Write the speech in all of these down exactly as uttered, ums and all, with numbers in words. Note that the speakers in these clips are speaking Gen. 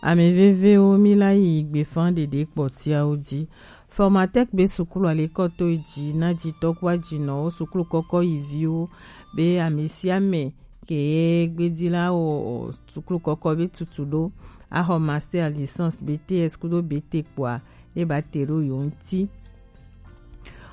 Ame vevewo, mi la yi gbefa ɖeɖe kpɔtiawo ji. Formatec be sukulu alekɔto yi ji na jitɔ ku ajinɔwo, sukulu kɔkɔ yi viwo be ame sia ame ke ye gbedi la wɔ sukulu kɔkɔ be tutu ɖo axɔ master, licence, B T S kudo B T kpoa, ne ba te ɖo yo ŋuti.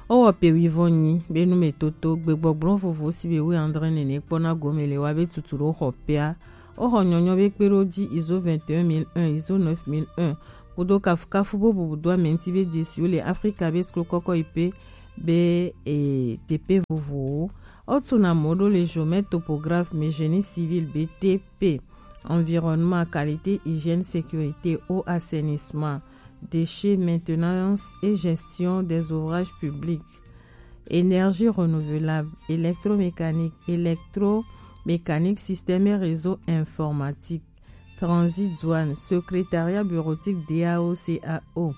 Wowɔ pe wuivɔn nyi be numetoto gbegbɔgblɔ vovo si be wi andre nene kpɔna gome le wa be tutu ɖo xɔ pea. Woxɔ nyɔnyɔ be kpe ɖo ji I S O vingt et un mille un, I S O neuf mille un, kudo kafukafu bo bubu do ame ŋuti be jesiwo le Afrika be sukulu kɔkɔ yi pe be e, teƒe vovowo. Wotu na mɔ ɖo le géomètre topographe me génie civil B T P, environnement, qualité, hygiène, sécurité, eau, assainissement, déchets, maintenance et gestion des ouvrages publics, énergie renouvelable, électromécanique, électromécanique, système et réseau informatique, transit douane, secrétariat bureautique D A O C A O.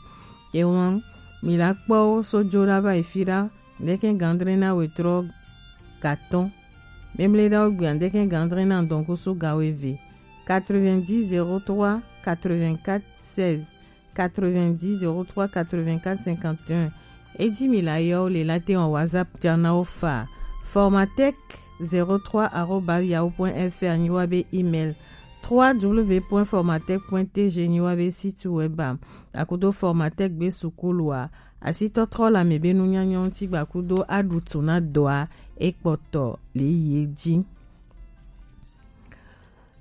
Ewan, mi la kpɔ wo so jo la va yi fi la, ndeke gandre na wetrɔ gatɔn. Memle ɖa wo gbia, ndeke gandre na dɔnkusu gawo eve. Quatre-vingt-dix zéro trois quatre-vingt-quatre seize, quatre-vingt-dix zéro trois quatre-vingt-quatre cinquante et un. Eji mi la yɔ wo le la te wɔn WhatsApp ja na wo fa. Formatec zéro trois arobase yahoo point F R nyi wa be email. trois w point formatec point T G nyi wa be site web a. Akudo Formatec be sukulu a, asitɔtrɔ la me be nunyanya ŋuti gbakudo aɖutu na dɔa ekpɔtɔ le ye ji.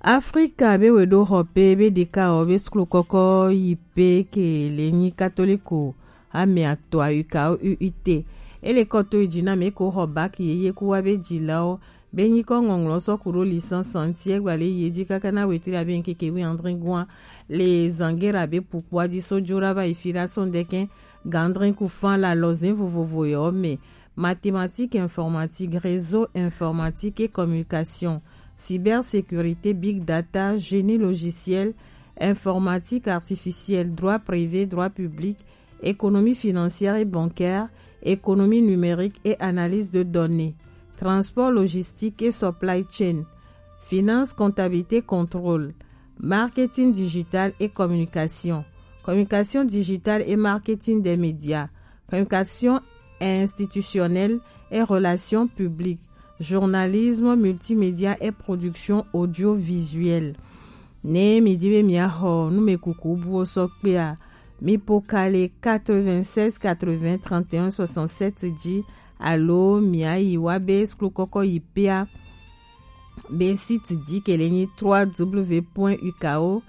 Afrika be we ɖo xɔ pe be ɖeka wɔ be sukulu kɔkɔ yi pe ke le nyi katoliko ame atɔa U K O U I T. Ele kɔto yi ji na me ko xɔ bac yeye ku wa be jilawo be nyikɔ ŋɔŋlɔ sɔ ku ɖo licence ŋuti egba le ye ji kaka na wetri abe ŋkeke wi andre gua le zangera be pukpua ji so jo ɖa va yi fi ɖa so ŋdɛkɛ gandrin ku fan la lɔzin vovovo yɔ me. Mathématiques, informatique, réseau informatique et communication, cybersécurité, big data, génie logiciel, informatique artificielle, droit privé, droit public, économie financière et bancaire, économie numérique et analyse de données, transport logistique et supply chain, finance, comptabilité, contrôle, marketing digital et communication, communication digitale et marketing des médias, communication institutionnelle et relations publiques, journalisme, multimédia et production audiovisuelle. Ne mi di be mi axɔ numekuku buwo sɔ kpea, mi po ka le quatre-vingt-seize quatre-vingts trente et un soixante-sept ji alo mi ayi wa be sukulu kɔkɔ yi pea be site ji ke le nyi trois W point U K O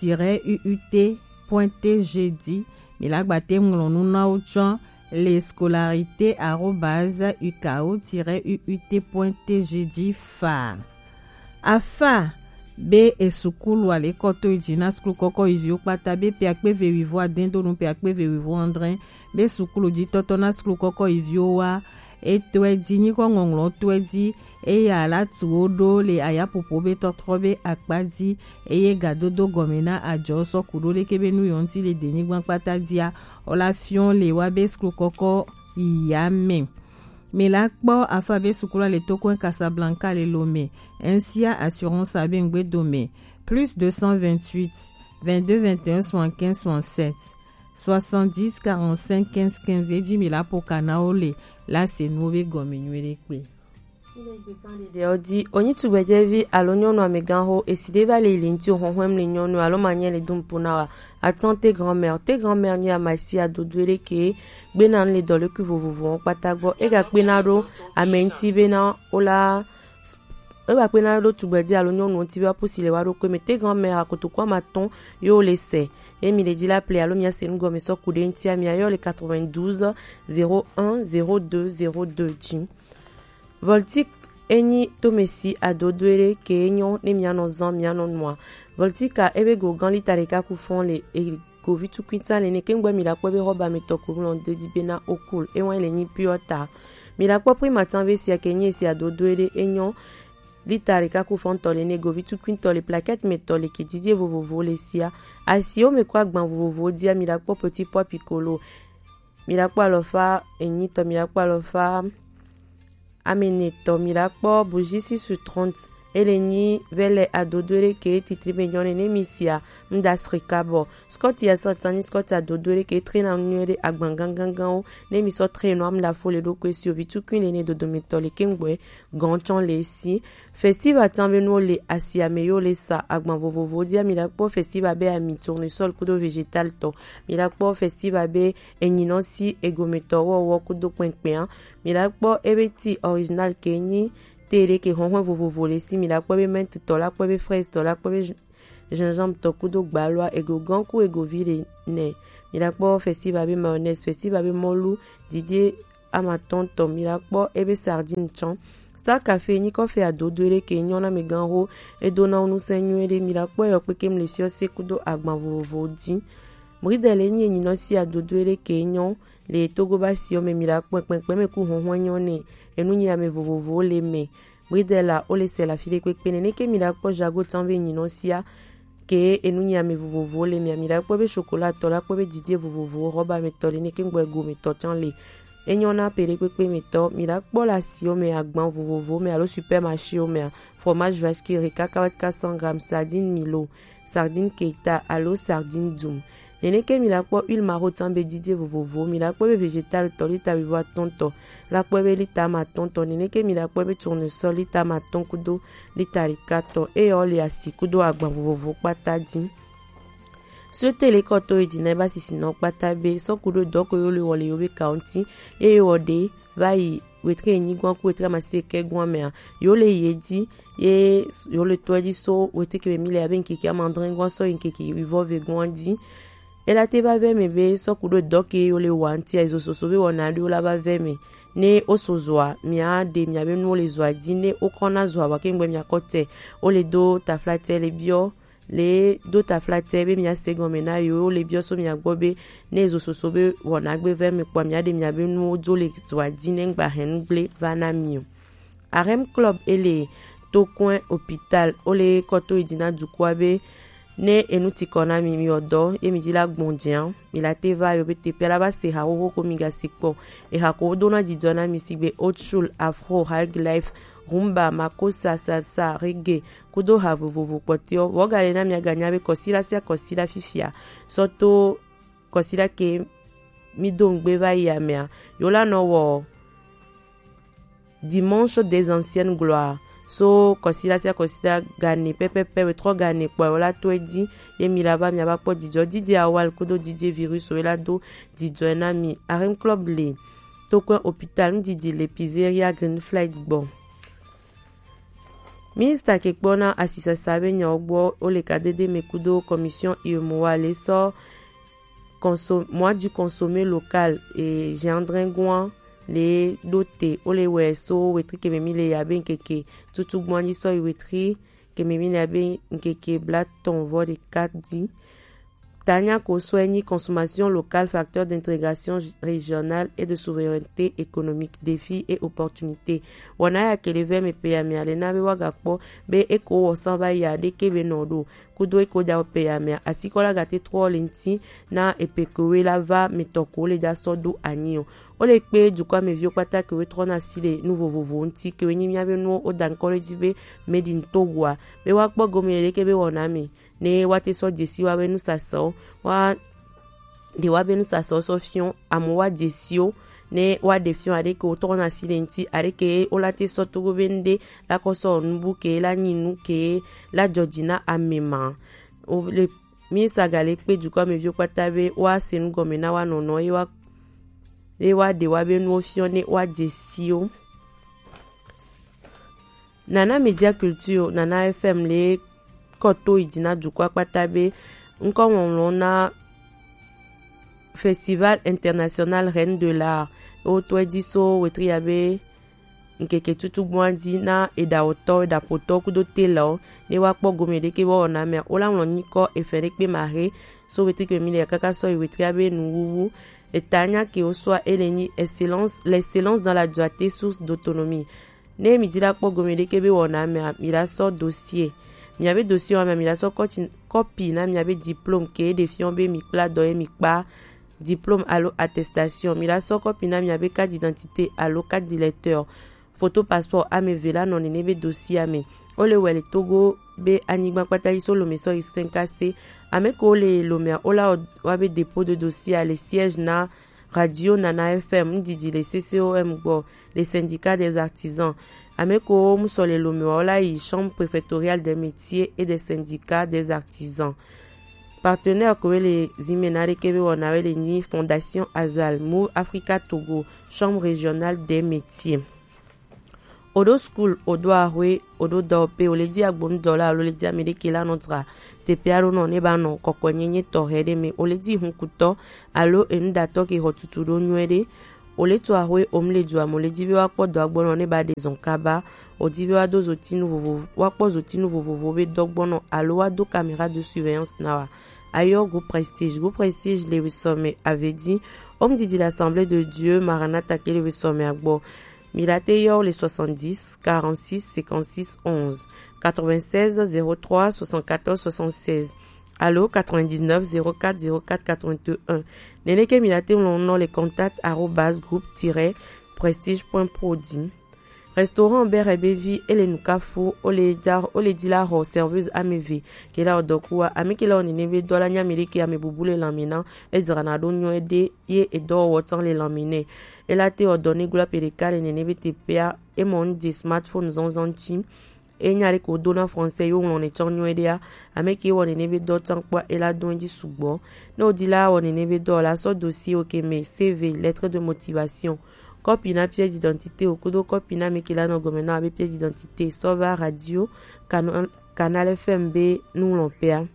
tiret U U T point T G di. Mi la gba te ŋlɔ nu na wo tsɔ le scolarité arobase U K O tiret U U T point T G di fa. Afa be e sukulu alekɔto yi ji na sukulu kɔkɔ yi viwo kpata be pe akpe ve wivo aden do nu pe akpe ve wivo andre be sukulu ji tɔtɔ na sukulu kɔkɔ yi viwo wa. Etɔe di nyikɔ ŋɔŋlɔ tɔe di, eya la tu wo ɖo le ayapopo be tɔtrɔ be akpa di, eye gadodo gɔme na ajɔ sɔ ku ɖo leke be nu yɔ ŋuti le denyigba kpata dia, o la fiɔ le wa be sukulu kɔkɔ yi ya me. Mi la kpɔ afa be sukulu le tokɔn Casablanca le Lomé, N C A Assurance abe ŋgbe dome, plus deux cent vingt-huit, vingt-deux vingt et un soixante-quinze soixante-sept, soixante-dix quarante-cinq quinze quinze, eji mi la po ka na wo le la se nuwo be gɔme nyuie ɖe kpe. Ɖewo di, onyi tugbedzɛvi alo nyɔnu amegãxo, esi ɖe va le yi le ŋuti o xɔxɔm le nyɔnu alo manyɛ le dum po na wa. Atɔn te grand-mère, te grand-mère nye amasia dodo ɖe ke gbena nu le dɔlekui vovovowo kpata gbɔ. Ega kpena ɖo ame ŋuti bena wo la, ega kpena ɖo tugbedzɛ alo nyɔnu ŋuti be apusi le wa ɖo kpe me. Te grand-mère akotoku ama atɔn yo le se. Ye mi le dzi la ple alo mia se nu gɔme sɔ ku ɖe ŋutia, mia yɔ le quatre-vingt-douze zéro un zéro deux zéro deux dzi. Voltic enyi tomesi adodoe ɖe ke enyo ne mianɔ zan mianɔ nua. Voltica ebe go gan lita ɖeka ku fɔn le e govi tukui ta nene ke ŋgbɔ mi la kpɔ be xɔba me tɔ ko ŋlɔ de di bena okul ewan le nyi piɔ ta. Mi la kpɔ pri matan ve sia ke nyi esi adodoe ɖe enyo lita ɖeka ku fɔn tɔ le ne govi tukui tɔ le plaquette me tɔ le ke didie vovovo le sia. Asiwo me kɔ agban vovovo dia mi la kpɔ petit pois piccolo. Mi la kpɔ alɔfa enyi tɔ, mi la kpɔ alɔfa ame ene tɔ, mi la kpɔ bougie six sur trente, Ele nyi vɛlɛ adodo ɖe ke titri be nyɔne ne mi sia mda srika bɔ. Scott ya satan ni Scott adodo ɖe ke trena nyuie ɖe agban gangangan wo ne mi sɔ treno am la fo le ɖo kwe si ovi tukui le ne dodo mi tɔ le ke ngbɔe gɔn tsɔn le si. Festival tan be nuwo le asia me yo le sa agban vovovo dia mi la kpɔ festival be ami tournesol kudo vegetal tɔ. Mi la kpɔ festival be enyinɔ si egometɔ wɔwɔ kudo kpɛnkpɛn. Mi la kpɔ ebe ti original ke nyi te ɖe ke hɔnhɔn vovovo le si. Mi la kpɔ be menthe tɔ la kpɔ be fraise tɔ la kpɔ be gingembre tɔ kudo gbalɔa ego gan ku ego vi le nɛ. Mi la kpɔ festival be mayonnaise festival be mɔlu didie amatɔn tɔ. Mi la kpɔ ebe sardine tsɔn. Star Café nyi kɔfe adodo ɖe ke nyɔ na mi gan ho edo na wo nusɛn nyuie ɖe. Mi la kpɔ eyɔ kpekem le fiɔ se kudo agban vovovo di. Mridele nyi enyinɔ si adodo ɖe ke nyɔ le Togo ba si ome mi la kpɔ kpɛnkpɛn me ku hɔnhɔn nyɔ ne enu nyi ame vovovowo le me. Mridela o le se la fi ɖe kpekpe ne neke mi la kpɔ jago tan be nyinɔ sia ke enu nyi ame vovovowo le mia. Mi la kpɔ be chocolat tɔ la kpɔ be didie vovovowo rɔba me tɔ le neke ngbɔ ego me tɔ can le. Enyɔ na pe ɖe kpekpe me tɔ mi la kpɔ la si ome agban vovovowo me alo supermarché wo mea. Fromage vache qui rit cacahuète quatre cents grammes sardine milo sardine keita alo sardine dum. Neneke mi la kpɔ huile marotan be didie vovovo mi la kpɔ be vegetal tɔ lita wivo atɔn tɔ la kpɔ be lita ma atɔn tɔ neneke mi la kpɔ be tournesol lita ma atɔn kudo lita ɖeka tɔ eye wo le asi kudo agban vovovo kpata di. Sotele kɔtɔ yi dzi na eba sisi nɔ kpata be sɔku ɖo dɔ ko yo le wɔ le yo be kaunti eye wɔ ɖe va yi wetre enyi gwan ku wetre amasi eke gwan mea yo le ye di ye yo le tɔ di so wetre ke mi le abe nkeke amandre gwan so nkeke wivɔ ve gwan di. Ela te va ve me be sɔku ɖo dɔ ke yo le wa nti ezo soso be wɔna ɖo la va ve me ne o so zɔa mia ɖe mia be nu le zɔa di ne o kɔna zɔa wa ke ngbe mia kɔte o le do taflatɛ le biɔ le do taflatɛ be mia se gɔme na yo le biɔ so mia gbɔ be ne ezo soso be wɔna gbe ve me kpɔ mia ɖe mia be nuwo dzo le zɔa di ne ngba hɛn gble va na mi o. Arem club ele tokɔn hôpital o le kɔto yi di na dukua be ne enu ti kɔ na mi mi ɔdɔ ye mi di la gbɔn dian mi la te va yo be te pia la va se ha xoxo ko mi ga si kpɔ eha ko do na didɔ na mi sigbe old school afro high life rumba makosa salsa reggae kudo ha vovovo kpɔtɔewo. Vɔ gale na mia ganya be kɔsila sia kɔsila fifia sɔ to kɔsila ke mi do ŋgbe va yi amea yo la nɔ wɔ dimanche des anciennes gloires so kɔsila sia kɔsila gane pɛpɛpɛ wetrɔ gane kpɔ yo la to edi ye mi la va mia va kpɔ didɔ didi awal kudo didi virus yo la do didɔ na mi arim club le tokɔn hôpital ŋdidi le pizzeria green flight gbɔ. Minista ke kpɔ na asisasa be nyawo gbɔ wo le kadede me kudo commission uemoa le sɔ conso- mois du consommé local e gendringwan le ɖo te wo le wɛ so wetri keme mi le ya be ŋkeke tutu gbɔn dzi sɔ yi wetri keme mi le ya be ŋkeke blatɔn vɔ ɖeka di. Tanya Kosoe nyi consommation locale facteur d'intégration régionale et de souveraineté économique, défis et opportunités. Wɔna ya ke le vɛ me pe ya me ale na be wa ga kpɔ be eko wɔ san va ya de ke be nɔ ɖo kudo eko da pe ya me asikɔ la ga te trɔ le ŋti na epe ko we la va me tɔ ko le da sɔ do anyi o. O le kpe dukɔ me viwo kpata ke we trɔ na si le nu vovovo ŋti ke we nyi mia be nuwo o da ŋkɔ le di be made in Togo a be wa kpɔ gome le ke be wɔna me ne woate sɔ dzesi woabe nusasɔwo wa ɖe woabe nusasɔwo sɔ fiɔ amewo wa dzesiwo ne woaɖe fiɔ aɖeke wotɔ na si le ŋti aɖeke wolate sɔ togo be ŋɖe la kɔ sɔ nubu ke la nyi nu ke la dzɔdzi na ame ma. Wole mi sagale kpe dukɔ me viwo kpata be woase nu gɔme na wa nɔnɔ ye wa ye woaɖe woabe nuwo fiɔ ne woadzesiwo. Nana Media Culture, Nana F M le kɔto yi dzi na dukɔa kpata be ŋkɔ ŋɔŋlɔ na Festival International Reine de l'Art. Wotɔe dzi so wetri ya be ŋkeke tutu gbɔn dzi na eɖawɔtɔ, eɖaƒotɔ kudo telɔ ne wa kpɔ gome ɖeke be wɔna mea wola ŋlɔ nyikɔ efe ɖe kpe ma he so wetri kpe mi le kaka sɔ yi wetri ya be nuwuwu. Eta nya ke wo sɔa ele nyi excellence, l'excellence dans la dureté source d'autonomie. Ne mi di la kpɔ gome ɖeke be wɔna mea mi la sɔ dossier. Miabe dossier wa mea mi la sɔ kɔpi na miabe diplôme ke ɖe fiɔ be mi kpla dɔ ye mi kpa diplôme alo attestation. Mi la sɔ kɔpi na miabe carte d'identité alo carte d'électeur. Photo passeport ame eve la nɔ nene be dossier ame. Wo le wɛ le Togo be anyigba kpata yi so Lomé sɔ yi Sɛnkasé. Ame ko wo le Lomé a, wo la wɔ wa be dépôt de dossier a le siège na Radio Nana F M, ŋdidi le C C O M gbɔ, le syndicat des artisans. Ame ko wo mu sɔ le Lomé wa, wo la yi chambre préfectorale des métiers et des syndicats des artisans. Partenaire ko we le zimɛ na ɖe ke be wɔna we le nyi Fondation Azal, Move Africa Togo, Chambre régionale des métiers. Oɖo school, oɖo ahwe, oɖo dɔwɔƒe, wo le di agbonu dɔla alo le di ame ɖe ke la nɔ dra teƒe aɖo nɔ ne ba nɔ kɔkɔenyenye tɔxɛ ɖe me, wo le di hunkutɔ alo enuɖatɔ ke xɔ tutu ɖo nyuie ɖe. Wo le to ahwe, wo mu le dua me, wo le di be wa kpɔ dɔ agbɔnɔ ne ba ɖe zɔn kaba, wo di be wa do zotinu vovovo, wa kpɔ zotinu vovovo be dɔgbɔnɔ alo wa do caméra de surveillance na wa. Ayɔ groupe Prestige, groupe Prestige le sɔme avedi, homme didi l'Assemblée de Dieu, Maranatha ke le sɔme agbɔ. Mi la te yɔ le soixante-dix, quarante-six, cinquante-six, onze, quatre-vingt-seize, zéro trois, soixante-quatorze, soixante-seize, alo quatre-vingt-dix-neuf, zéro quatre, zéro quatre, quatre-vingt-un. Nene ke mi la te ŋlɔ nɔ le contact arobase groupe tiret prestige point pro di. Restaurant Bere Bevi, ele nukafu, ole ja, ole di la xɔ serveuse ameve ke la odɔkua, ami ke la onene be dɔ la nya mi ɖe ke ame bubu le lamina, e dzrana ɖo nyuie ɖe, ye edɔwɔwɔ tsan le lamine. E la te odɔ ne gula pe ɖeka le nene be teƒea, e mɔ nu de smartphone zɔnzɔn tsi. E nya ɖe ko do na français yo ŋlɔ ne tsɔ nyuie ɖea, ame ke wɔ nene be dɔ tsan kpɔ e la do edzi sugbɔ. Ne o di la wɔ nene be dɔ la, sɔ dossier o ke me C V, lettre de motivation, kɔpi na pièce d'identité o kudo kɔpi na mi ke la nɔ gɔme na be pièce d'identité, sɔ va radio Canal, Canal F M be nu ŋlɔ pea.